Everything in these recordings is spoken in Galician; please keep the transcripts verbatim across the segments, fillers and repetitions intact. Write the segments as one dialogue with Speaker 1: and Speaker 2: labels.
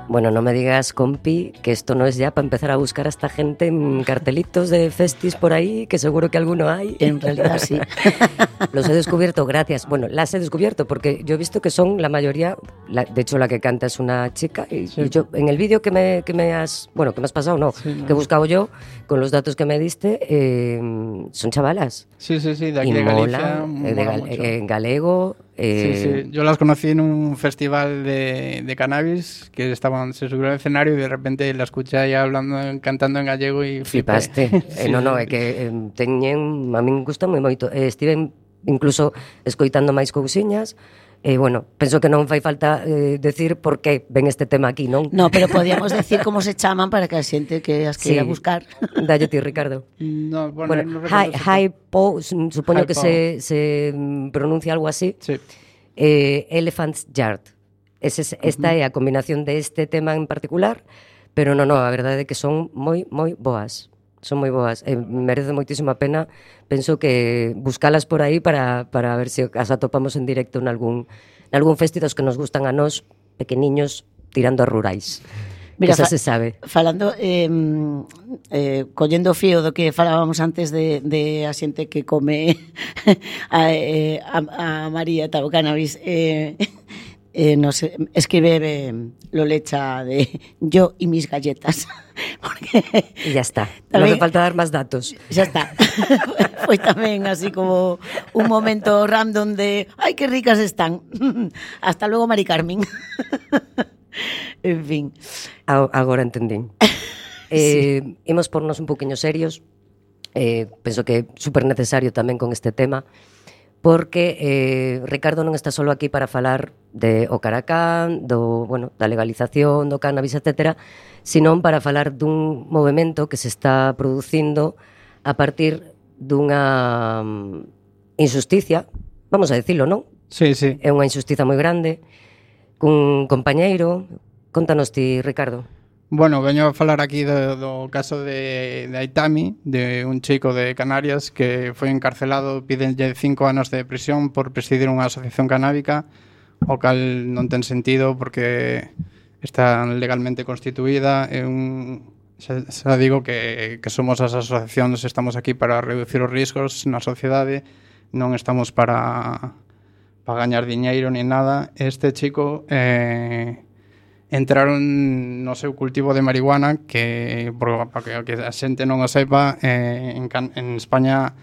Speaker 1: Bueno, no me digas, compi, que esto no es ya para empezar a buscar a esta gente en cartelitos de festis por ahí, que seguro que alguno hay.
Speaker 2: En realidad sí.
Speaker 1: Los he descubierto, gracias. Bueno, las he descubierto porque yo he visto que son la mayoría, la, de hecho la que canta es una chica y, sí. y yo en el vídeo que me, que me has, bueno, que me has pasado, no, sí, no, que he buscado yo, con los datos que me diste, eh, son chavalas.
Speaker 3: Sí, sí, sí, de aquí
Speaker 1: y
Speaker 3: de
Speaker 1: mola,
Speaker 3: Galicia.
Speaker 1: Eh, de gal, eh, en galego. Eh...
Speaker 3: Sí, sí, yo las conocí en un festival de, de cannabis que estaban, se subieron al escenario y de repente la escuché ahí hablando, cantando en gallego y
Speaker 1: flipaste. sí, eh, no, no, é que eh, teñen, a min gusta moi moito. Eh, estive incluso escoitando máis cousiñas. E, eh, bueno, penso que non fai falta eh, decir por que ven este tema aquí, non?
Speaker 2: No, pero podíamos decir como se chaman para que a xente que as queira sí. buscar.
Speaker 1: Dalle ti, Ricardo.
Speaker 3: No, bueno,
Speaker 1: bueno
Speaker 3: no
Speaker 1: Hi, Hypo, supoño
Speaker 3: Hypo.
Speaker 1: que se, se pronuncia algo así.
Speaker 3: Sí.
Speaker 1: Eh, Elephant's Yard. Ese, esta uh-huh. é a combinación de este tema en particular, pero non, non, a verdade é que son moi, moi boas. Son moi boas, eh, merece moitísima pena. Penso que buscalas por aí para, para ver se as atopamos en directo en algún, en algún festidos que nos gustan a nós, pequeniños, tirando a rurais. Mira, que xa se sabe.
Speaker 2: Falando, eh, eh, collendo o fío do que falábamos antes de, de a xente que come a, eh, a, a María tal o cannabis, eh, Eh, nos escribe eh, Lolecha de yo y mis galletas.
Speaker 1: Porque y ya está, tamén, no hace falta dar más datos.
Speaker 2: Ya está. Foi tamén así como un momento random de ¡ay, qué ricas están! Hasta luego, Mari Carmen. En fin.
Speaker 1: Agora entendín. Eh, sí. Imos pornos un poquinho serios. Eh, penso que é super necesario tamén con este tema. Porque eh, Ricardo non está solo aquí para falar de o Caracán, do, bueno, da legalización do cannabis, etcétera, senón para falar dun movimento que se está producindo a partir dunha injusticia, vamos a decirlo, non?
Speaker 3: Sí, sí.
Speaker 1: É unha injusticia moi grande, cun compañeiro. Contanos ti, Ricardo.
Speaker 3: Bueno, veño a falar aquí do, do caso de, de Aitami, de un chico de Canarias que foi encarcelado, pídenlle cinco anos de prisión por presidir unha asociación canábica, o cal non ten sentido porque está legalmente constituída. É un, xa, xa digo que, que somos as asociacións, estamos aquí para reducir os riscos na sociedade, non estamos para, para gañar diñeiro ni nada. Este chico... Eh, entraron no seu cultivo de marihuana que, para que a xente non o sepa, eh, en, en España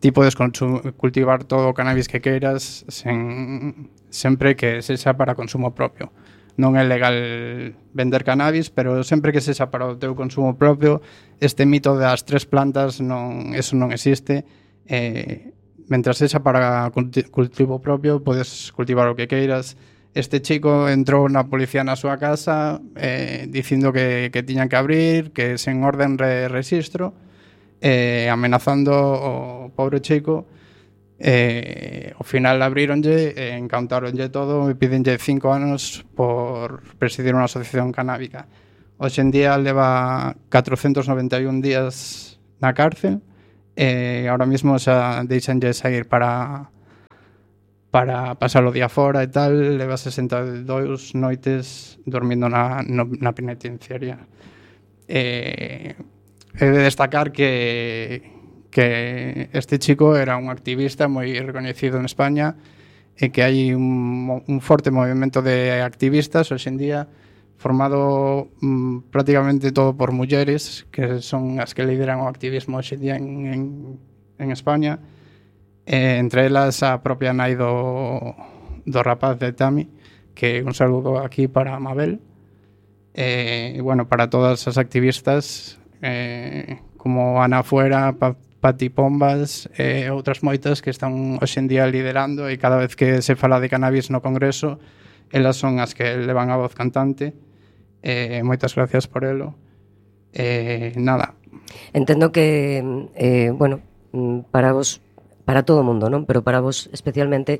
Speaker 3: ti podes cultivar todo o cannabis que queiras sen, sempre que sexa para consumo propio. Non é legal vender cannabis, pero sempre que sexa para o teu consumo propio, este mito das tres plantas, non, eso non existe. Eh, mentras sexa para cultivo propio, podes cultivar o que queiras. Este chico entrou na policía na súa casa eh, dicindo que, que tiñan que abrir, que sen orden de registro, eh, amenazando o pobre chico. Eh, ao final abríronlle, eh, encantaronlle todo e pídenlle cinco anos por presidir unha asociación canábica. Hoxe en día leva catrocentos noventa e un días na cárcel e eh, ahora mismo xa deixanlle sair para... para pasar o día fora e tal, leva sesenta e dous noites dormindo na, no, na penitenciaria. Eh, he de destacar que, que este chico era un activista moi reconhecido en España e que hai un, un forte movimento de activistas hoxe en día formado mm, prácticamente todo por mulleres que son as que lideran o activismo hoxe en día en, en, en España. Eh, entre elas a propia nai do, do rapaz de Tami, que un saludo aquí para Mabel, e eh, bueno, para todas as activistas eh, como Ana Fuera, pa, Pati Pombas e eh, outras moitas que están hoxe en día liderando, e cada vez que se fala de cannabis no Congreso elas son as que levan a voz cantante. Eh, moitas gracias por elo. Eh, nada.
Speaker 1: Entendo que eh, bueno, para vos, para todo o mundo, non? Pero para vos especialmente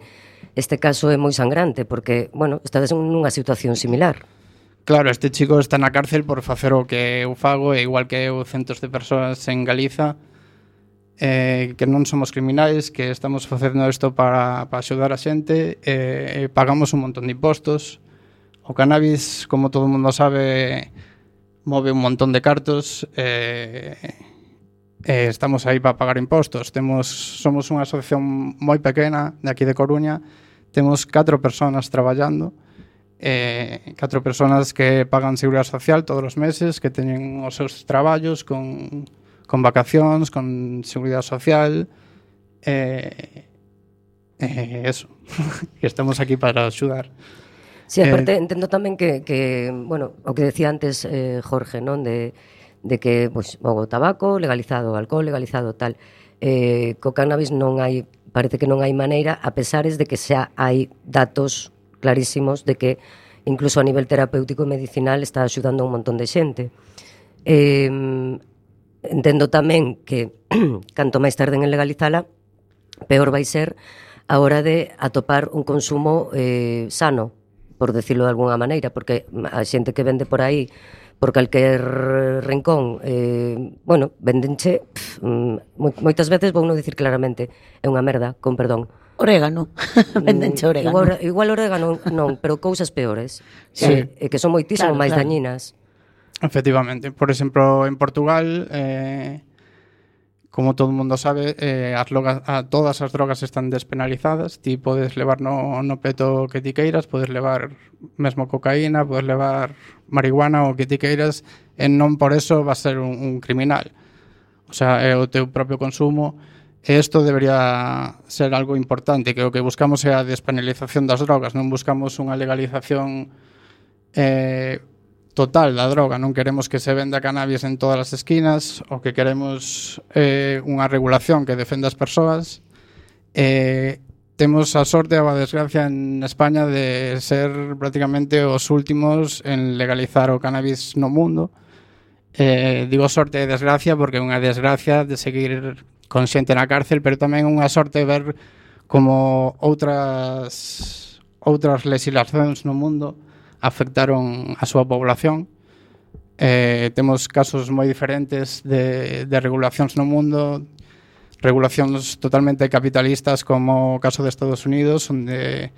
Speaker 1: este caso é moi sangrante porque, bueno, estades nunha situación similar.
Speaker 3: Claro, este chico está na cárcel por facer o que eu fago, e igual que eu centos de persoas en Galiza, eh, que non somos criminais, que estamos facendo isto para, para axudar a xente, eh, pagamos un montón de impostos, O cannabis, como todo o mundo sabe, move un montón de cartos, e eh, eh, estamos aí para pagar impostos. Temos, somos unha asociación moi pequena de aquí de Coruña, temos catro persoas traballando, eh, catro persoas que pagan seguridade social todos os meses, que teñen os seus traballos con, con vacacións, con seguridade social, eh, eh, eso, que estamos aquí para axudar.
Speaker 1: Sí, aparte eh, entendo tamén que, que, bueno, o que decía antes eh, Jorge, non, de, de que, pois, pues, o tabaco legalizado, o alcohol legalizado, tal, eh, co cannabis non hai, parece que non hai maneira, a pesares de que xa hai datos clarísimos de que incluso a nivel terapéutico e medicinal está axudando a un montón de xente. Eh, entendo tamén que canto máis tarden en legalizala, peor vai ser a hora de atopar un consumo eh, sano, por decirlo de alguna maneira, porque a xente que vende por aí por calquer rincón, eh, bueno, vendenche, pff, moitas veces vou non dicir claramente, é unha merda, con perdón.
Speaker 2: Orégano, vendenche orégano.
Speaker 1: Igual, igual orégano non, pero cousas peores,
Speaker 2: sí.
Speaker 1: que, que son moitísimo claro, máis claro. dañinas.
Speaker 3: Efectivamente, por exemplo, en Portugal, eh, como todo o mundo sabe, eh, as logas, a, todas as drogas están despenalizadas. Ti podes levar no, no peto que ti queiras, podes levar mesmo cocaína, podes levar marihuana ou que ti queiras, e non por eso vas ser un, un criminal. O sea, é o teu propio consumo. E isto debería ser algo importante, que o que buscamos é a despenalización das drogas, non buscamos unha legalización eh, total da droga, non queremos que se venda cannabis en todas as esquinas, o que queremos é eh, unha regulación que defenda as persoas. Eh, temos a sorte ou a desgracia en España de ser prácticamente os últimos en legalizar o cannabis no mundo. Eh, digo sorte e desgracia porque é unha desgracia de seguir con xente na cárcel, pero tamén unha sorte ver como outras outras legislacións no mundo afectaron a súa población. Eh, temos casos moi diferentes de, de regulacións no mundo, regulacións totalmente capitalistas como o caso de Estados Unidos, onde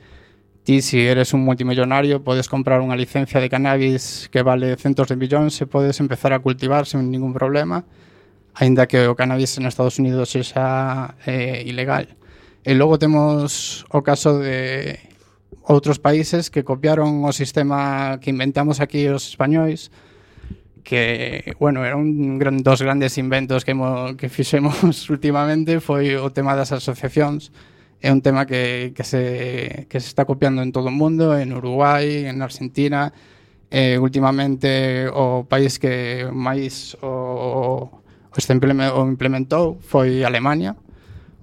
Speaker 3: ti, si eres un multimillonario, podes comprar unha licencia de cannabis que vale centos de millóns e podes empezar a cultivar sen ningún problema, aínda que o cannabis en Estados Unidos sexa eh, ilegal. E logo temos o caso de outros países que copiaron o sistema que inventamos aquí os españois, que, bueno, era un gran, dos grandes inventos que, mo, que fixemos últimamente, foi o tema das asociacións. É un tema que, que, se, que se está copiando en todo o mundo, en Uruguai, en Argentina. Eh, últimamente o país que máis o, o, o implementou foi Alemania,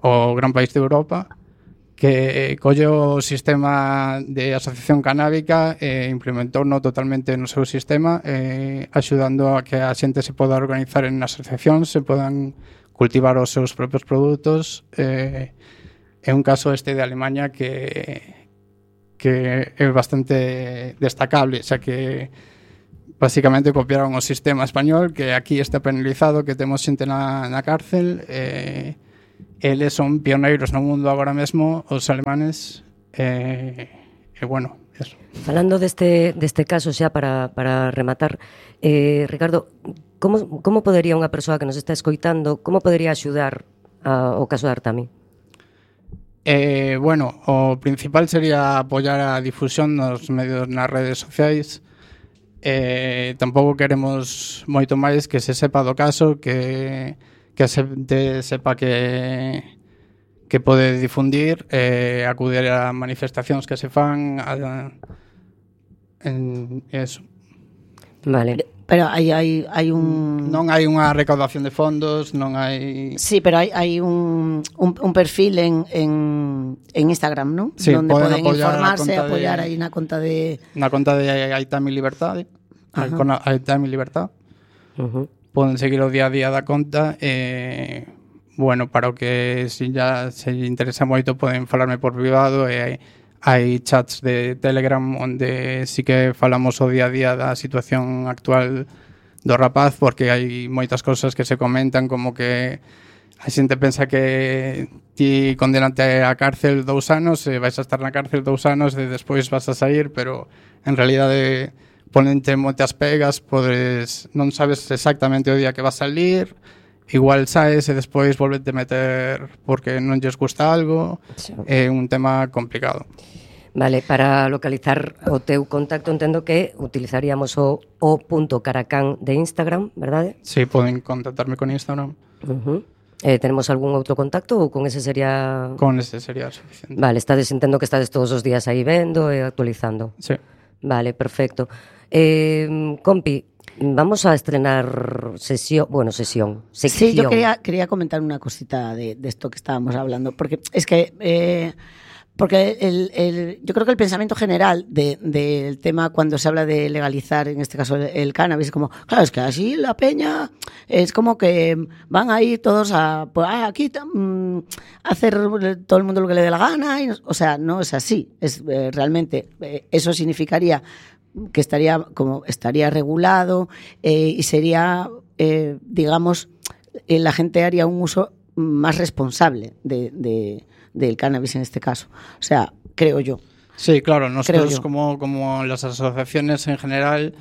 Speaker 3: o gran país de Europa, que colleu o sistema de asociación canábica e implementou-no totalmente no seu sistema, eh, axudando a que a xente se poda organizar en asociacións, se podan cultivar os seus propios produtos. Eh, é un caso este de Alemania que, que é bastante destacable, xa que basicamente copiaron o sistema español, que aquí está penalizado, que temos xente na, na cárcel, e eh, eles son pioneiros no mundo agora mesmo, os alemanes, e, eh, eh, bueno, eso.
Speaker 1: Falando deste, deste caso xa para, para rematar, eh, Ricardo, como, como podería unha persoa que nos está escoitando, como podería axudar a, o caso de Artami?
Speaker 3: Eh, bueno, o principal sería apoiar a difusión nos medios, nas redes sociais. Eh, tampouco queremos moito máis, que se sepa do caso, que que a xente sepa que que pode difundir, eh, acudir a manifestacións que se fan, a, en eso.
Speaker 1: Vale.
Speaker 2: Pero hai, hai, hai un...
Speaker 3: Non hai unha recaudación de fondos, non hai...
Speaker 2: Sí, pero hai, hai un, un, un perfil en, en, en Instagram, non?
Speaker 3: Sí,
Speaker 2: donde poden,
Speaker 3: poden
Speaker 2: informarse, apoiar
Speaker 3: de,
Speaker 2: aí na conta de...
Speaker 3: Na conta de Aitami Libertad, Aitami Libertad.
Speaker 1: Uh-huh.
Speaker 3: Poden seguir o día a día da conta e, bueno, para o que se ya se interesa moito poden falarme por privado, e hai, hai chats de Telegram onde sí que falamos o día a día da situación actual do rapaz, porque hai moitas cousas que se comentan, como que a xente pensa que ti condenate a cárcel dous anos e vais a estar na cárcel dous anos e despois vas a sair, pero en realidade ponente moitas pegas, podes, non sabes exactamente o día que vas a salir, igual saes e despois volvete meter porque non lles gusta algo, sí. É un tema complicado.
Speaker 1: Vale, para localizar o teu contacto entendo que utilizaríamos o o punto caracán de Instagram, verdade?
Speaker 3: Sí, poden contactarme con Instagram.
Speaker 1: Uh-huh. Eh, tenemos algún outro contacto ou con ese sería...
Speaker 3: Con ese sería suficiente.
Speaker 1: Vale, estades, entendo que estades todos os días aí vendo e actualizando.
Speaker 3: Sí.
Speaker 1: Vale, perfecto. Eh, compi, vamos a estrenar sesión, bueno, sesión, sección.
Speaker 2: Sí, yo quería, quería comentar una cosita de, de esto que estábamos hablando, porque es que... Eh, Porque el, el, yo creo que el pensamiento general de, del tema cuando se habla de legalizar, en este caso el, el cannabis, es como, claro, es que así la peña es como que van a ir todos a, pues, ah, aquí um, hacer todo el mundo lo que le dé la gana, y, o sea, no es así, es eh, realmente, eh, eso significaría que estaría como estaría regulado eh, y sería, eh, digamos, eh, la gente haría un uso más responsable de, de del cannabis en este caso. O sea, creo yo.
Speaker 3: Sí, claro, nosotros como, como las asociaciones en general,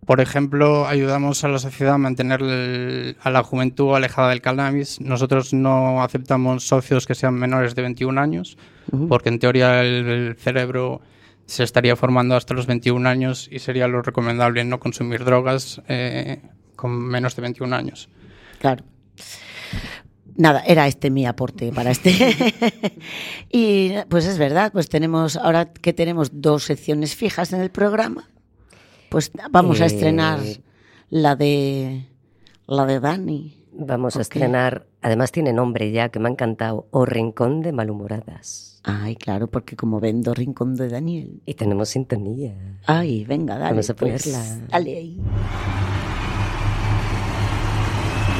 Speaker 3: por ejemplo, ayudamos a la sociedad a mantener el, a la juventud alejada del cannabis. Nosotros no aceptamos socios que sean menores de veintiún años, uh-huh. porque en teoría el, el cerebro se estaría formando hasta los veintiún años y sería lo recomendable no consumir drogas eh, con menos de veintiún años.
Speaker 2: Claro. Nada, era este mi aporte para este. Y pues es verdad, pues tenemos, ahora que tenemos dos secciones fijas en el programa, pues vamos eh... a estrenar la de la de Dani.
Speaker 1: Vamos okay. a estrenar, además tiene nombre ya que me ha encantado, O Rincón de Malhumoradas.
Speaker 2: Ay, claro, porque como vendo Rincón de Daniel.
Speaker 1: Y tenemos sintonía.
Speaker 2: Ay, venga, dale.
Speaker 1: Vamos a
Speaker 2: pues,
Speaker 1: ponerla.
Speaker 2: Dale ahí.